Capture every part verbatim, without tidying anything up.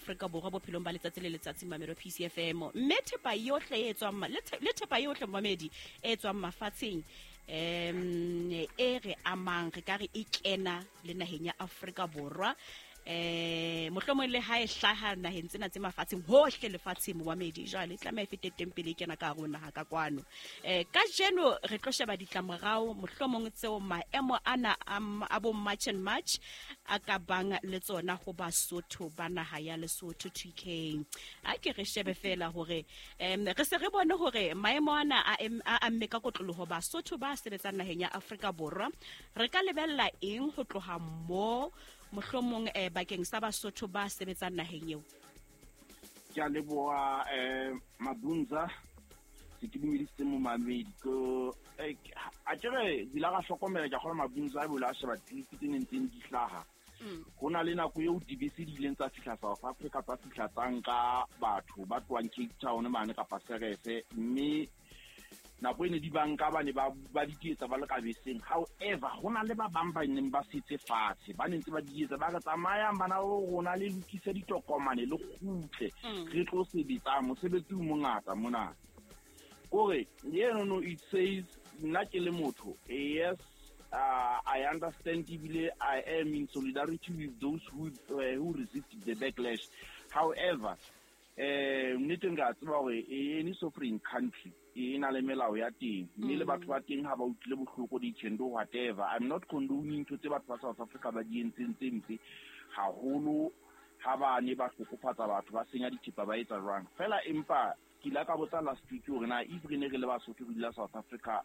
Afrika Borwa bophelong ba letsatsi le letsatsi mamelo P C F M. Mme thepa yohle e tswang ma-, le the-, le thepa yohle momedi e tswang mafatsheng, em, e re amang, re ka re e kena le naheng ya Afrika Borwa. Eh, mohlomong le ha e hlaha naheng tsena tse mafatsheng hohle lefatsheng momamedi, jwale e tlameha e fete teng pele e kena ka hare ho naha ka kwano. Eh, kajeno re tlo sheba ditlamorao mohlomong tseo maemo ana a m-, a bo March and March a ka bang le tsona ho Basotho ba naha ya Lesotho T K. A ke re shebe fela hore, em, re se re bone hore maemo ana a em-, a amme ka kotloloho Basotho ba sebetsang naheng ya Afrika Borwa. Re ka lebella eng ho tloha mo mohlomong, eh, bakeng sa Basotho ba sebetsang naheng eo? Ke a leboha, eh, Mabunza, se ke dumedisitse momamedi. Ko, eh, a ke re, ke ile ka hlokomela, ke a kgolwa Mabunza a boela a sheba clip tse neng tse di hlaha. Mm. Ho na le nako eo dibese di ileng tsa fihla South Africa, tsa fihla tsa nka batho ba tlohang Cape Town mane kapa Serese, mme nako e ne di banka ba ne ba, ba di tietsa ba le ka beseng. However, ho na le ba bang ba neng ba setse fatshe, ba ne ntse ba di etsa, ba re tsamayang bana ba rona le lokise ditokomane le kgutle, Mm. re tlo sebetsa, mosebetsi o mongata mona. Kore, eno no, it says, nna ke le motho, yes, uh, I understand ebile I am in solidarity with those who, uh, who resist the backlash. However, eh, nnete nka tseba hore any sovereign country e na le melao ya teng, mme le batho ba teng ha ba utlwile bohloko, they can do whatever. I'm not condoning ntho tse batho ba South Africa ba di entseng tse mpe haholo ha ba ne ba hlokofatsa batho, ba senya dithepa, ba etsa jwang. Fela empa ke ile ka botsa last week hore na if re ne re le Basotho re dula South Africa,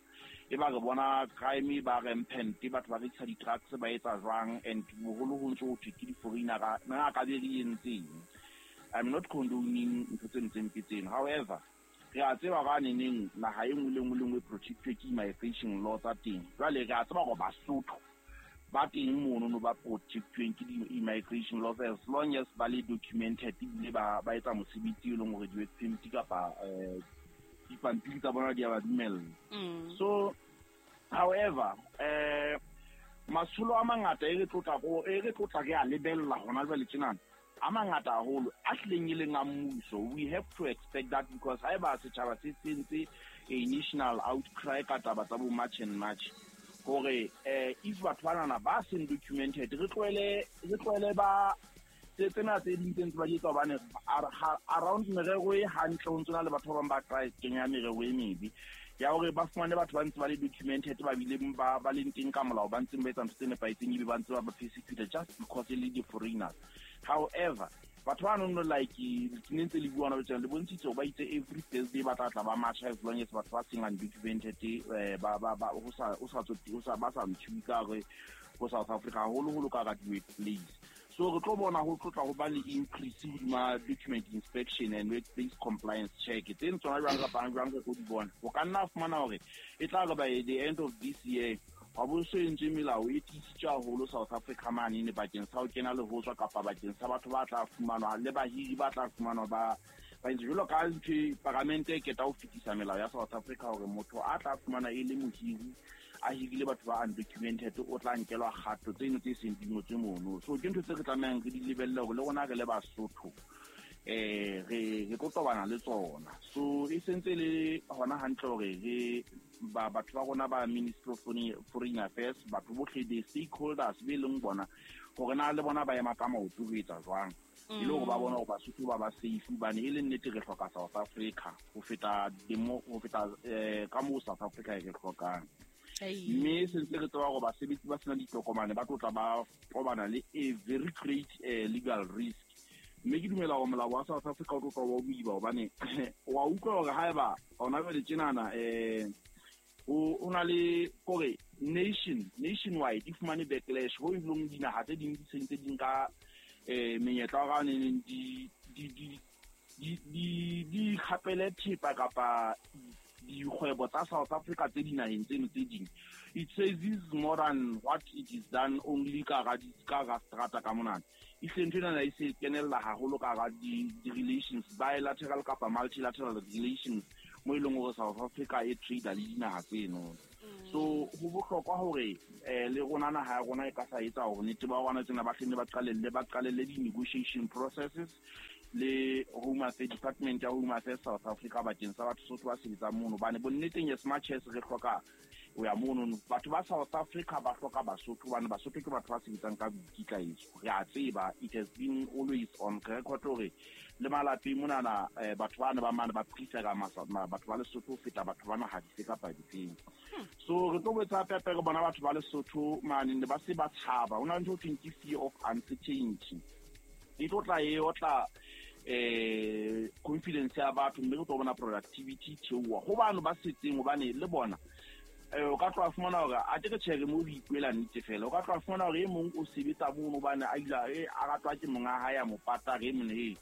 e ba re bona crime ba rampant, batho ba rekisa di-drugs ba etsa jwang, and boholo ho ntso ho thwe ke di-foreigner, na ka be re entseng? I'm not condoning ntho tse ntseng mpe tseno. However, re a tseba ba neneng naha e nngwe le nngwe le nngwe e protected ke immigration law tsa teng. Jwale re a tseba hore Basotho ba teng mono no ba protected ke di-immigration laws as long as ba le documented ebile ba, ba etsa mosebetsi e leng hore di-work permit kapa, eh, dipampiri tsa bona di a ba dumella. Mm. So, however, eh, matsholo a mangata e re tlotla go, e re tlotla re a lebella hona jwale tjenana, a mangata haholo a hlileng e leng a mmuso. We have to expect that because haeba setjhaba se sentse a national outcry ka taba tsa bo March and March, hore, eh, if batho banana ba seng documented, re tlohele, re tlohele ba tse tsena tse ding tse ntse ba di etsa hobane ar-, ha-, around merero e hantle ho ntso na le batho ba bang ba tla kenya merero e mebe ya hore ba fumane batho ba ntse ba le documented, ba bile ba, ba leng teng ka molao, ba ntseng ba etsa ntho tse nepahetseng ebe ba ntse ba ba persecuted just because e le di-foreigners. However, batho ba no like ke ne ntse le bua hona jwale, le bontshitse hore ba itse every Thursday ba tla tla ba marcha as long as batho ba seng undocumented, eh, ba, ba, ba, ho sa, ho sa tsote-, ho sa, ba sa ntshuwe ka hare ho South Africa, haholoholo ka hara di-workplace. So re tlo bona ho tlotla ho ba le increase hodima document inspection and workplace compliance check. Tse tsona jwang kapa jwang re tlo di bona. O ka nna fumana hore e tla re by the end of this year wa bo so entswe melao e tiisitswe haholo South Africa mane ne bakeng sa ho kena le ho tswa kapa bakeng sa batho ba tla fumanwa le bahiri ba tla fumanwa ba, ba entse jwalo ka ntho e paramente e keta ho fetisa melao ya South Africa hore motho a tla fumana e le mohiri a hirile batho ba undocumented o tla nkelwa kgato tseno tse seng di ngotswe mono. So ke ntho tse re tlamehang re di lebelle hore le rona re le Basotho, eh, re, re tlo tobana le tsona. So e sentse le hona hantle hore re ba, batho ba rona ba Ministry of Foreign, Foreign Affairs, batho bohle the stakeholders be leng bona hore na le bona ba ema ka maoto ho etsa jwang, e le hore ba bona hore Basotho ba ba safe, hobane e le nnete re hloka South Africa ho feta demo, ho feta, eh, ka moo South Africa e re hlokang. Ei. Mme se ntse re tseba hore basebetsi ba senang ditokomane ba tlo tla ba tobana le a very great, eh, legal risk. Mme ke dumela hore molao wa South Africa o tlo tla wa boima hobane wa utlwa hore haeba hona jwale tjenana, eh, o, o na le kore nation, nationwide e fumane backlash ho e leng dinaha tse ding di sentse di nka, eh, menyetla wa ka neng di, di, di, di, di, di kgapele thepa kapa dikgwebo tsa South Africa tse dinaheng tseno tse ding. It says this is more than what it is done only ka hara di-, ka hara strata ka monana. E hle ntho enana e se kenella haholo ka hara di-, di-relations, bilateral kapa multilateral relations mo e leng hore South Africa e trade le dinaha tseno. So ho bohlokwa hore eh le rona naha ya rona e ka sa etsa hore nnete ba rona tsena ba hlenne ba qalelle ba qalelle di-negotiation processes le Home Affairs Department ya Home Affairs South Africa bakeng sa batho Sotho ba sebetsang mono, hobane bonneteng as much as re hloka ho ya mono, batho ba South Africa ba hloka Basotho, hobane Basotho ke batho ba sebetsang ka boikitlaetso. Re a tseba, it has been always on record hore le malapeng monana batho bana ba mane ba prefer-a batho ba Lesotho ho feta batho ba naha dife kapa difeng. So re tlo boetse hape hape re bona batho ba Lesotho mane ne ba se ba tshaba. Ho na le ntho ho thweng ke fear of uncertainty. E tlo tla e otla eh confidence ya batho, mme re tlo bona productivity theoha ho bano ba setseng, hobane le bona eh o ka tloha fumana hore a ke re tjhe re mo ho ipuela nnete fela, o ka tloha fumana hore e mong o sebetsa mono hobane a ila e a ratwa ke monga hae a mo pata re mone he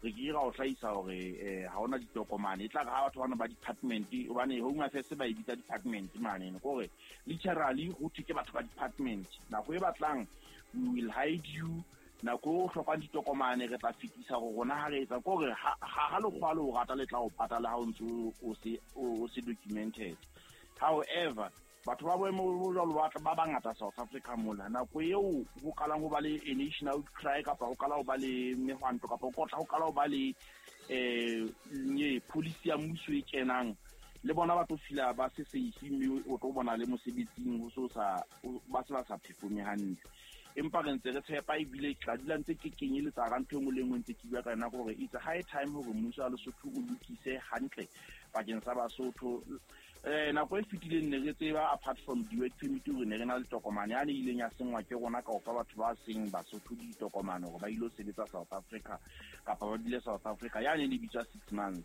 re ke ra o hlahisa hore eh ha hona ditokomane. E tla re ha batho bana ba department, hobane Home Affairs ba e bitsa department mane, ke hore literally ho thwe ke batho ba department. Nako e batlang we will hide you, nako o hlokang ditokomane re tla fetisa hore rona ha re etsa, ke hore ha lekgwa le o rata le tla o patala ha o ntso o se o se documented. However, batho ba boemo bo jwalo ba ba bangata South Africa mona, nako eo ho qalang ho ba le a national cry kapa ho qala ho ba le mehwanto kapa ho tla ho qala ho ba le eh nye policy ya mmuso e kenang, le bona ba tlo fila ba se safe, mme o tlo bona le mosebetsing ho so sa ba se ba sa performe hantle. Empa re ntse re tshepa ebile ke tla dula ntse ke kenyeletsa ka ntho e nngwe le e nngwe ntse ke bua ka yona hore it's a high time hore mmuso wa Lesotho o lokise hantle bakeng sa Basotho. Eh nako e fetileng ne re tseba apart from di-work permit hore ne re na le tokomane yane e ileng ya senngwa ke rona ka ho fa batho ba seng Basotho ditokomane hore ba ilo sebetsa South Africa kapa ba dule South Africa, yane e bitswa six months.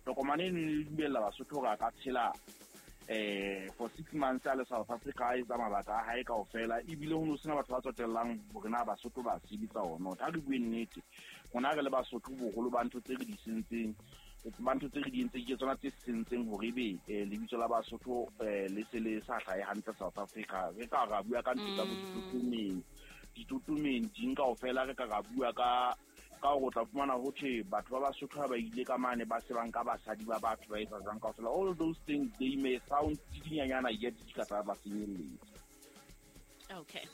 Tokomane eno e dumella Basotho hore a ka tshela eh for six months a le South Africa a etsa mabaka a hae kaofela, ebile ho no sena batho ba tsotellang hore na Basotho ba sebetsa or not. Ha re bue nnete, rona re le Basotho boholo ba ntho tse re di sentseng, ba ntho tse re di entseng ke tsona tse sentseng hore ebe lebitso la Basotho le se le sa hlahe hantle South Africa. Re ka ra bua ka ntho tsa bo ditotomeng, ditotomeng ding kaofela, re ka ra bua ka ka hore o tla fumana ho thwe batho ba Basotho ha ba ile ka mane ba se ba nka basadi ba batho ba etsa jwang kaofela. All those things, they may sound di dinyanyana yet di ka tsa ba senyelletsa. Okay.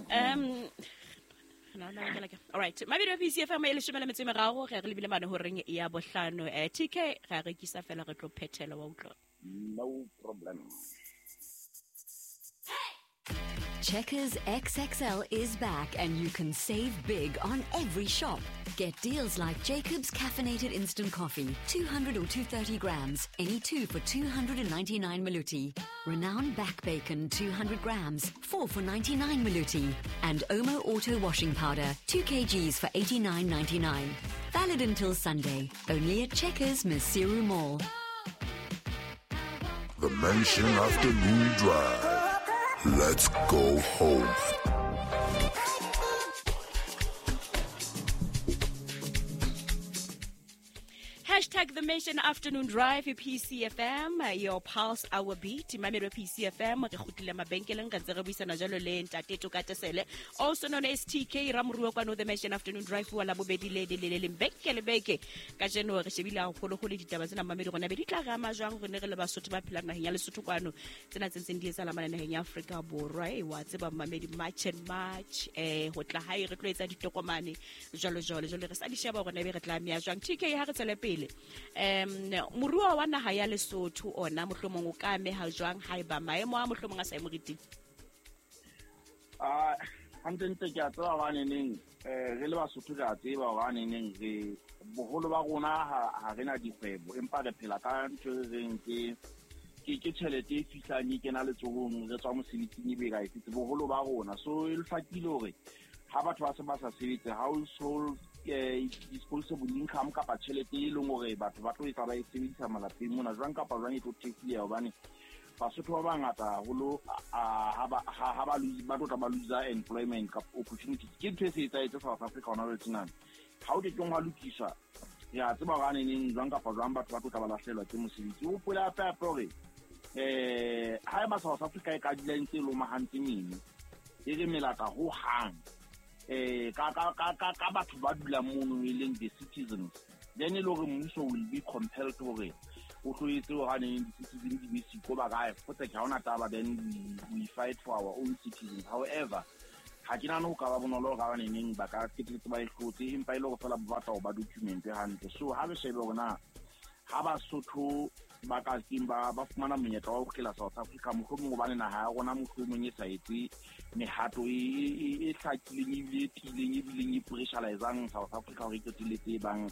Um no no ke like all right. Mabedi wa P C F M e leshome le metso e meraro re re lebile mane horeng ya bohlano. Eh T K ra rekisa fela re tlo phethela wa utlwa. No problem. Checkers X X L is back and you can save big on every shop. Get deals like Jacob's Caffeinated Instant Coffee, two hundred or two hundred thirty grams, any two for two hundred ninety-nine maluti. Renown Back Bacon, two hundred grams, four for ninety-nine maluti. And Omo Auto Washing Powder, two kilograms for eighty-nine ninety-nine. Valid until Sunday, only at Checkers Maseru Mall. The Mansion Afternoon Drive. Let's go home. Hashtag The Mansion Afternoon Drive, P C F M, your pulse, our beat. Mamelo P C F M, re kgutlile mabenkeleng re ntse re buisana jalo le Ntate Toka Tesele, also known as T K Ramoruo kwano The Mansion Afternoon Drive wa Labobedi le le le leng beke le beke. Kajeno re shebile haholoholo ditaba tsena mamedi rona be di tla re ama jwang rone re le Basotho ba phelang naheng ya Lesotho kwano, tsena tse ntseng di etsahala mane naheng ya Afrika Borwa. E wa tseba mamedi, March and March, eh ho tla hae re tlo etsa ditokomane jwalo jwalo jwalo re sa di sheba rona be re tla ameha jwang. T K ha re tswele pele, um moruo wa naha ya Lesotho ona mohlomong o ka ameha jwang haeba maemo a mohlomong a sa emoriting? Ah, hantlentle ke a tseba hobane neng eh re le Basotho re a tseba hobane neng re boholo ba rona ha re na dikgwebo, empa re phela ka ntho e reng ke ke ke tjhelete e fihlang e kena letsohong re tswa mosebetsing ebe ra e fitse boholo ba rona. So e hlakile hore ha batho ba se ba sa sebetse, household eh disposable income kapa tjhelete e leng hore batho ba tlo etsa ba e sebedisa malapeng mona jwang kapa jwang e tlo thekileha, hobane Basotho ba bangata haholo ha ba ha ba ba tlo tla ba lose employment kapa opportunities. Ke ntho e se etsahetse South Africa hona jwale tjena. Ha o ke keng wa lokiswa, re a tseba hore neng jwang kapa jwang batho ba tlo tla ba lahlehelwa ke mosebetsi. O hopole hape hape hore eh haeba South Africa e ka dula e ntse e lomahantse meno, e re melata hohang eh ka ka ka ka batho ba dulang mono e leng the citizens, Then e le hore mmuso will be compelled hore o tlo etse hore di-citizen di be siko ba kae fotse ke ha hona taba, then we, we fight for our own citizens. However, ha ke nahane ho ka ba bonolo hore ba neneng ba ka qetelletse ba e hlotse, empa e le hore feela ba batla ho ba document hantle. So ha re shebe hore na ha Basotho ba ka keng ba ba fumana monyetla wa ho kgutlela South Africa, mohlomong hobane naha ya rona mohlomong e sa etse mehato e e e hlakileng ebile e tiileng ebileng e pressurizang South Africa hore e qetelletse e bang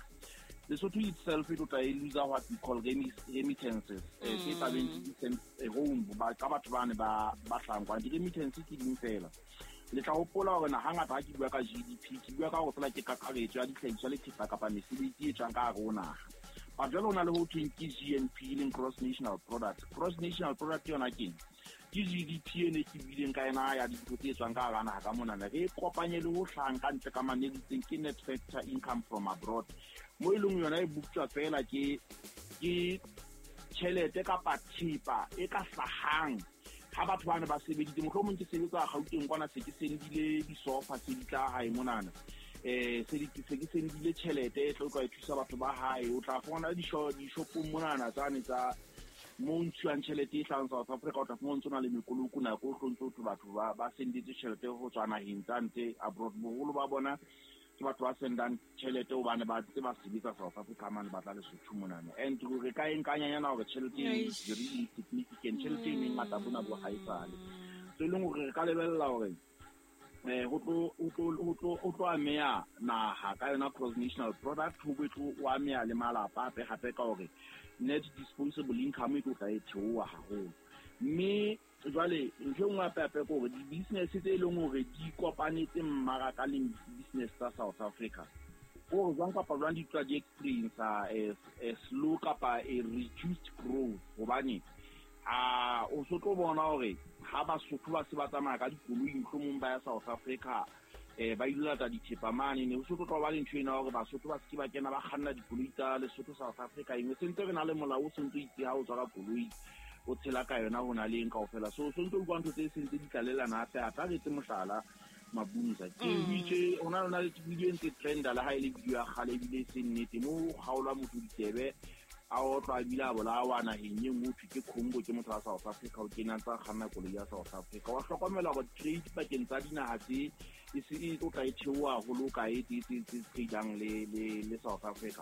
Lesotho itself e tlo e lose what we call remittances tse tla beng di sent home ba ka batho bane ba ba hlahang kwana. Di-remittance ke ding fela. Le tla hopola hore na hangata ha ke bua ka G D P ke bua ka hore fela ke kakaretso ya dihlahiswa le thepa kapa mesebetsi e tswang ka hare ho naha. But jwale ho na le ho thweng ke G N P, e leng gross national product. Gross national product yona keng? Ke G D P e ne ke buileng ka yona ya dintho tse tswang ka hara naha ka mona. Re e kopanye le ho hlahang ka ntle ka mane e ke net factor income from abroad. Mo e leng yona e boptjwa fela ke ke tjhelete kapa thepa e ka hlahang ha batho bana ba sebeditse. Mohlomong ke sebetsa Gauteng kwana, se ke sendile disofa tse di tla hae monana, eh se di se ke sendile tjhelete e tlo tla thusa batho ba hae. O tla fumana dishopong monana tsane tsa mo ntshuwang tjhelete e hlahang South Africa, o tla fumana ntso na le mekoloko nako o tlo ntso batho ba ba sendetse tjhelete ho tswa naheng tsa ntle abroad. Boholo ba bona ke batho ba sendang tjhelete hobane ba ntse ba sebetsa South Africa mane, ba tla Lesotho monana. And re ka e nkanyanyana hore tjhelete e very insignificant, tjhelete e mengata bona bo ha e sale. So e leng hore re ka lebella hore eh ho tlo ho tlo ho tlo ho tlo ameha naha ka yona gross national product, ho bo tlo o ameha le malapa hape hape ka hore net disposable income e tlo tla e theoha haholo. Mme jwale ntho e nngwe hape hape ke hore di-business tse e leng hore di kopanetse mmaraka le business tsa South Africa, hore jwang kapa jwang di tla di experience a slow kapa a reduced growth, hobane a o so tlo bona hore ha Basotho ba se ba tsamaya ka dikoloi mohlomong ba ya South Africa eh ba ile lata dithepa mane, ne o so tlo ba le ntho ena hore Basotho ba se ba kena ba kganna dikoloi tsa Lesotho South Africa. Engwe sentse re na le molao o sentse o itse ha o tswa ka koloi o tshela ka yona ho na le eng kaofela. So so ntse o bua ntho tse sentse di tlalelana hape hape. Re etse mohlala Mabunza ke itse ona lona le video e ntse trenda le ha e le video ya kgale ebile e se nnete, mo kgaolwa motho ditsebe a otlwa ebile a bolawa naheng e nngwe thwe ke Congo, ke motho wa South Africa o kena ntsa kganna koloi ya South Africa. Wa hlokomela hore trade pakeng tsa dinaha tse e se e tlo tla e theoha haholo ka e tse tse tse tradang le le le South Africa.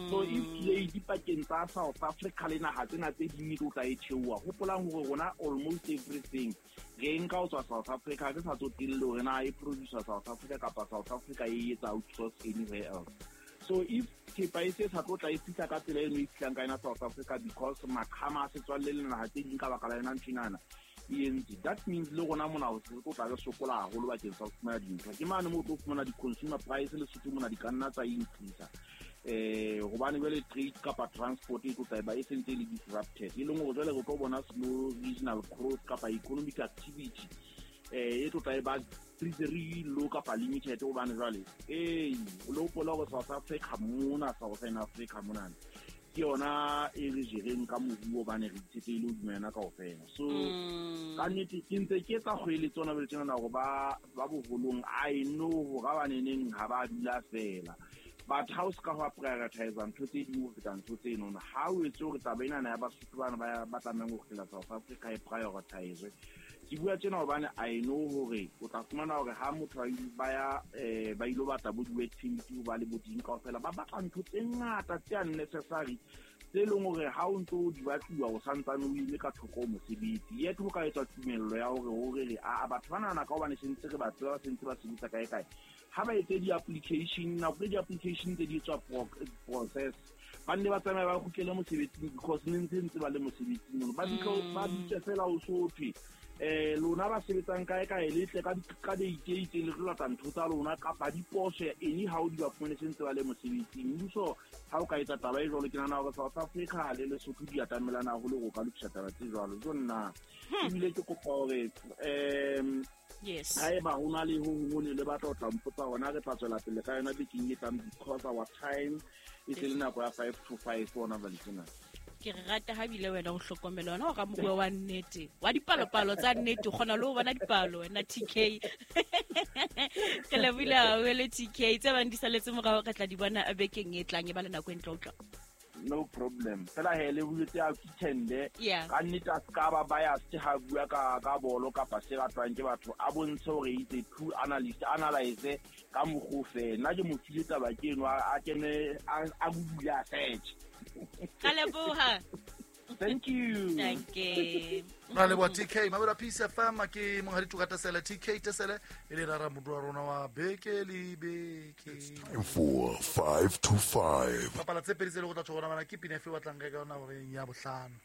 So if trade pakeng tsa South Africa le naha tsena tse ding e tlo tla e theoha, hopolang hore rona almost everything re nka ho tswa South Africa, re sa tsotelle hore na e producer South Africa kapa South Africa e etsa outsource anywhere else. So if thepa e se sa tlo tla e fihla ka tsela eno e fihlang ka yona South Africa because maqhama a setswalle le naha tse ding ka baka la yona ntho enana e entse, that means le rona mona ho se tlo tla re sokola haholo bakeng sa ho fumana dintho. Ke mane moo o tlo fumana di-consumer price Lesotho mona di ka nna tsa increase eh hobane jwale trade kapa transport e tlo tla ba e sentse e le disrupted, e leng hore jwale re tlo bona slow regional growth kapa economic activity eh e tlo tla e ba very low kapa limited, hobane jwale eh o lo hopola hore South Africa mona, Southern Africa mona ke yona e re jereng ka moruo hobane re itshetlehile hodima yona kaofela. So ka nnete ke ntse ke etsa kgoeletso hona jwale tjena hore ba ba boholong, I know hore ba baneneng ha ba dula feela, but ha o ska ho prioritize ntho tse ding ho feta ntho tse nono. Ha o etse hore taba enana ya Basotho bana ba ba tlamehang ho kgutlela South Africa e prioritize. Ke bua tjena hobane I know hore o tla fumana hore ha motho ba ya eh ba ilo batla bo di-work permit ho ba le bo ding kaofela, ba batla ntho tse ngata tse unnecessary tse leng hore ha o ntso di batluwa o santsane o ile ka thoko ho mosebetsi. Yet ho ka etswa tumello ya hore hore re a batho ba nahana ka hobane sentse re ba tseba, ba sentse ba sebetsa kae kae, ha ba etse di-application, nako e di-application tse di etswa process, ba nne ba tsamaya ba kgutlele mosebetsing because ne ntse ntse ba le mosebetsing mono. Ba ba bitse fela o so thwe eh lona ba sebetsang kae kae le tle ka ka date e itseng le tlo lata ntho tsa lona kapa diposo anyhow di ba fumane sentse ba le mosebetsing. Mmuso ha o ka etsa taba e jwalo, ke nahana hore South Africa le Lesotho di atamelana haholo ho ka lokisa taba tse jwalo. Jo nna ebile ke kopa hore um yes haeba ho na le ho hong le batla ho tla mpotsa hona, re tla tswela pele ka yona bekeng e tlang because our time e se le nako ya five to five hona jwale tjena. Ke rata ha bile wena o hlokomela wena o ramoruo wa nnete wa dipalopalo tsa nnete, o kgona le ho bona dipalo wena T K. Ke lebohile haholo T K, tse bang di saletse morao re tla di bona bekeng e tlang, e ba le nako e ntle ho utlwa. No problem. Fela he le boletse a kitende. Yeah. Ka nnete a ska ba biased ha bua ka ka bolo kapa se ratwang ke batho, a bontshe hore he's a true analyst, analyze ka mokgwa ofe. Nna ke mo file taba ke eno, a kene a Google a search. Ka leboha. Thank you. Thank you. Ra leboha T K. Mabela Peace F M ke monghadi Toka Tesele, T K Tesele e le rara modua rona wa beke le beke. It's time for five to five. Bapala tse pedi tse le go tla tshwana bana ke pina efe o batlang ka yona hore ya bohlano.